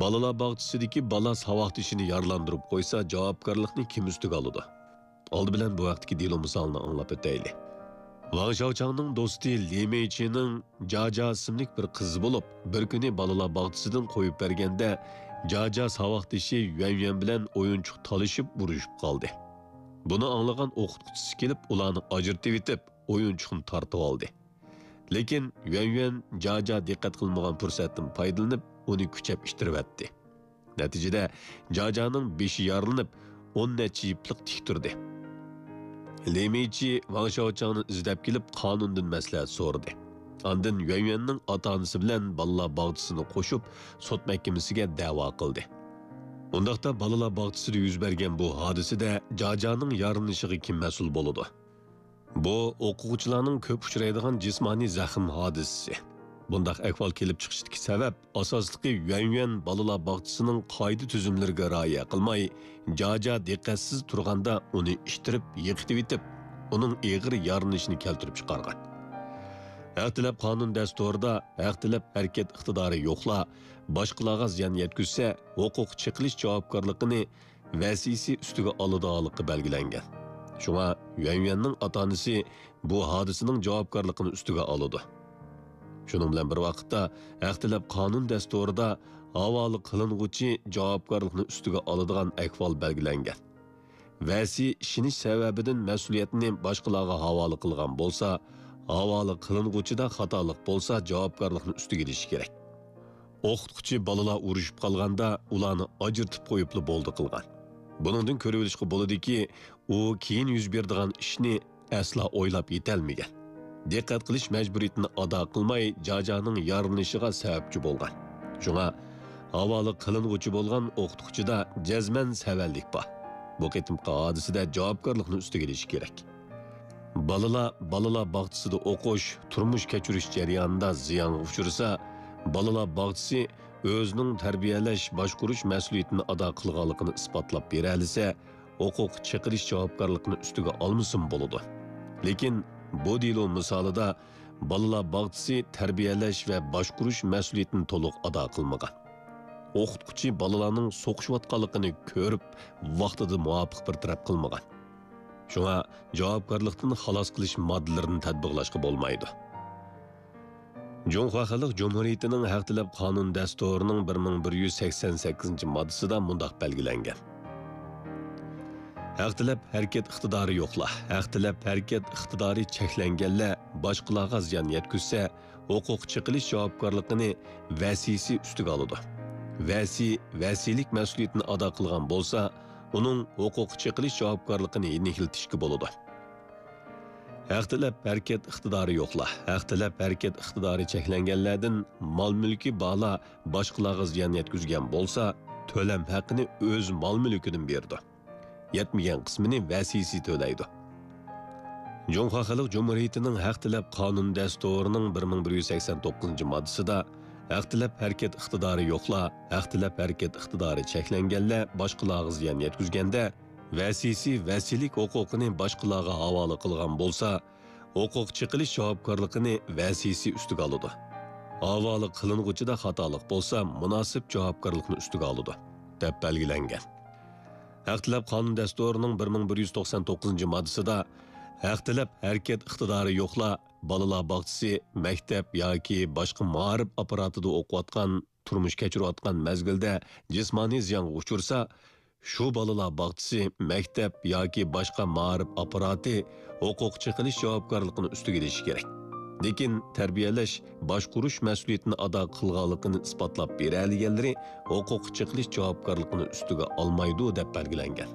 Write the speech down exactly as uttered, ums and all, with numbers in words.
بالىلار باغچىسىدىكى بالا ساۋاقدىشىنى يارىلاندۇرۇپ قويسا، جاۋابكارلىقنى كىم ئۈستىگە ئالىدۇ؟ ئالدى بىلەن بۇ ھەقتىكى دېلو مىسالىنى ئاڭلاپ ئۆتەيلى. ۋاڭ شياۋچاڭنىڭ دوستى لى مېيچىنىڭ جاجا ئىسىملىك بىر قىزى بولۇپ، بىر كۈنى بالىلار باغچىسىدىن قويۇپ بەرگەندە، جاجا ساۋاقدىشى يۈەن يۈەن بىلەن ئويۇنچۇق تالىشىپ ئۇرۇشۇپ قالدى. بۇنى ئاڭلىغان ئوقۇتقۇچىسى كېلىپ، ئۇلارنى ئاجرىتىۋېتىپ، ئويۇنچۇقنى تارتىۋالدى. لېكىن يۈەن يۈەن جاجا دىققەت قىلمىغان پۇرسەتتىن پايدىلىنىپ، ئۇنى كۈچەپ ئىتتىرىۋەتتى. نەتىجىدە، جاجانىڭ بېشى يارىلىنىپ، ئون نەچچە يىپلىق تىك تۇردى. لى مېيچى ۋاڭ شياۋچاڭنى ئىزدەپ كېلىپ، قانۇندىن مەسلىھەت سورىدى. ئاندىن يۈەن يۈەننىڭ ئاتا-ئانىسى بىلەن بالىلار باغچىسىنى قوشۇپ، سوت مەھكىمىسىگە دەۋا قىلدى. ئۇنداقتا بالىلار باغچىسىدە يۈز بەرگەن بۇ ھادىسىدە جاجانىڭ يارىلىنىشىغا كىم مەسئۇل بولىدۇ؟ بۇ ئوقۇغۇچىلارنىڭ كۆپ ئۇچرايدىغان جىسمانىي زەخىم ھادىسىسى. بۇنداق ئەھۋال كېلىپ چىقىشىدىكى سەۋەب، ئاساسلىقى يۈەن يۈەن بالىلار باغچىسىنىڭ قائىدە-تۈزۈملىرىگە رىئايە قىلماي، جاجا دىققەتسىز تۇرغاندا ئۇنى ئىتتىرىپ، يىقىتىۋېتىپ، ئۇنىڭ ئېغىر يارىلىنىشىنى كەلتۈرۈپ چىقارغان. ھەق تەلەپ قانۇن دەستۇرىدا ھەق تەلەپ ھەرىكەت ئىقتىدارى يوقلار باشقىلارغا زىيان يەتكۈزسە، ھوقۇق چېقىلىش جاۋابكارلىقىنى ۋەسىسى ئۈستىگە ئالىدىغانلىقى بەلگىلەنگەن. شۇڭا يۈەن يۈەننىڭ ئاتا-ئانىسى بۇ ھادىسىنىڭ جاۋابكارلىقىنى ئۈستىگە ئالىدۇ. شۇنىڭ بىلەن بىر ۋاقىتتا، ھەق تەلەپ قانۇن دەستۇرىدا ھاۋالە قىلىنغۇچى جاۋابكارلىقنى ئۈستىگە ئالىدىغان ئەھۋال بەلگىلەنگەن. ۋەسىي ئىشىنىش سەۋەبىدىن مەسئۇلىيەتنى باشقىلارغا ھاۋالە قىلغان بولسا، ھاۋالە قىلىنغۇچىدا خاتالىق بولسا، جاۋابكارلىقنى ئۈستىگە ئېلىشى كېرەك. ئوقۇتقۇچى بالىلار ئۇرۇشۇپ قالغاندا ئۇلارنى ئاجرىتىپ قويۇپلا بولدى قىلغان. بۇنىڭدىن كۆرۈۋېلىشقا بولىدۇكى، ئۇ كېيىن يۈز بېرىدىغان ئىشنى ئەسلا ئويلاپ يېتەلمىگەن. دىققەت قىلىش مەجبۇرىيىتىنى ئادا قىلماي، جاجانىڭ يارىلىنىشىغا سەۋەبچى بولغان. شۇڭا، ھاۋالە قىلىنغۇچى بولغان ئوقۇتقۇچىدا جەزمەن سەۋەنلىك بار. بۇ قېتىمقى ھادىسىدە جاۋابكارلىقنى ئۈستىگە ئېلىشى كېرەك. بالىلار بالىلار باغچىسىدا ئوقۇش، تۇرمۇش كەچۈرۈش جەريانىدا زىيانغا ئۇچرىسا، بالىلار باغچىسى ئۆزىنىڭ تەربىيەلەش، باشقۇرۇش مەسئۇلىيىتىنى ئادا قىلغانلىقىنى ئىسپاتلاپ بېرەلىسە، ھوقۇق چېقىلىش جاۋابكارلىقىنى ئۈستىگە ئالمىسىمۇ بولىدۇ. لېكىن بۇ دېلو مىسالىدا بالىلار باغچىسى تەربىيەلەش ۋە باشقۇرۇش مەسئۇلىيىتىنى تولۇق ئادا قىلمىغان. ئوقۇتقۇچى بالىلارنىڭ سوقۇشۇۋاتقانلىقىنى كۆرۈپ، ۋاقتىدا مۇۋاپىق بىر تەرەپ قىلمىغان. شۇڭا جاۋابكارلىقتىن خالاس قىلىش ماددىلىرىنى تەتبىقلاشقا بولمايدۇ. جۇڭخۇا خەلق جۇمھۇرىيىتىنىڭ ھەق تەلەپ قانۇن دەستۇرىنىڭ بىر مىڭ بىر يۈز سەكسەن سەككىزىنچى ماددىسىدا مۇنداق بەلگىلەنگەن: ھەق تەلەپ ھەرىكەت ئىقتىدارى يوقلار، ھەق تەلەپ ھەرىكەت ئىقتىدارى چەكلەنگەنلەر باشقىلارغا زىيان يەتكۈزسە، ھوقۇق چېقىلىش جاۋابكارلىقىنى ۋەسىسى ئۈستىگە ئالىدۇ. ۋەسىي ۋەسىيلىك مەسئۇلىيىتىنى ئادا قىلغان بولسا، ئۇنىڭ ھوقۇق چېقىلىش جاۋابكارلىقىنى يېنىكلىتىشكە بولىدۇ. ھەق تەلەپ ھەرىكەت ئىقتىدارى يوقلار، ھەق تەلەپ ھەرىكەت ئىقتىدارى چەكلەنگەنلەردىن مال-مۈلكى بارلار باشقىلارغا زىيان يەتكۈزگەن بولسا، تۆلەم ھەققىنى ئۆز مال-مۈلكىدىن بېرىدۇ. يەتمىگەن قىسمىنى ۋەسىسى تۆلەيدۇ. جۇڭخۇا خەلق جۇمھۇرىيىتىنىڭ ھەق تەلەپ قانۇن دەستۇرىنىڭ بىر مىڭ بىر يۈز سەكسەن توققۇزىنچى ماددىسىدا، ھەق تەلەپ ھەرىكەت ئىقتىدارى يوقلار، ھەق تەلەپ ھەرىكەت ئىقتىدارى چەكلەنگەنلەر باشقىلارغا زىيان يەتكۈزگەندە، ۋەسىسى ۋەسىيلىك ھوقۇقىنى باشقىلارغا ھاۋالە قىلغان بولسا، ھوقۇق چېقىلىش جاۋابكارلىقىنى ۋەسىسى ئۈستىگە ئالىدۇ. ھاۋالە قىلىنغۇچىدا خاتالىق بولسا، مۇناسىپ جاۋابكارلىقنى ئۈستىگە ئالىدۇ، دەپ بەلگىلەنگەن. ھەق تەلەپ قانۇن دەستۇرىنىڭ بىر مىڭ بىر يۈز توقسان توققۇزىنچى ماددىسىدا، ھەق تەلەپ ھەرىكەت ئىقتىدارى يوقلار بالىلار باغچىسى، مەكتەپ ياكى باشقا مائارىپ ئاپپاراتىدا ئوقۇۋاتقان، تۇرمۇش كەچۈرۈۋاتقان مەزگىلدە جىسمانىي زىيانغا ئۇچرىسا، شۇ بالىلار باغچىسى، مەكتەپ ياكى باشقا مائارىپ ئاپپاراتى ھوقۇق چېقىلىش جاۋابكارلىقىنى ئۈستىگە ئېلىشى كېرەك. لېكىن تەربىيەلەش، باشقۇرۇش مەسئۇلىيىتىنى ئادا قىلغانلىقىنى ئىسپاتلاپ بېرەلىگەنلىرى ھوقۇق چېقىلىش جاۋابكارلىقىنى ئۈستىگە ئالمايدۇ، دەپ بەلگىلەنگەن.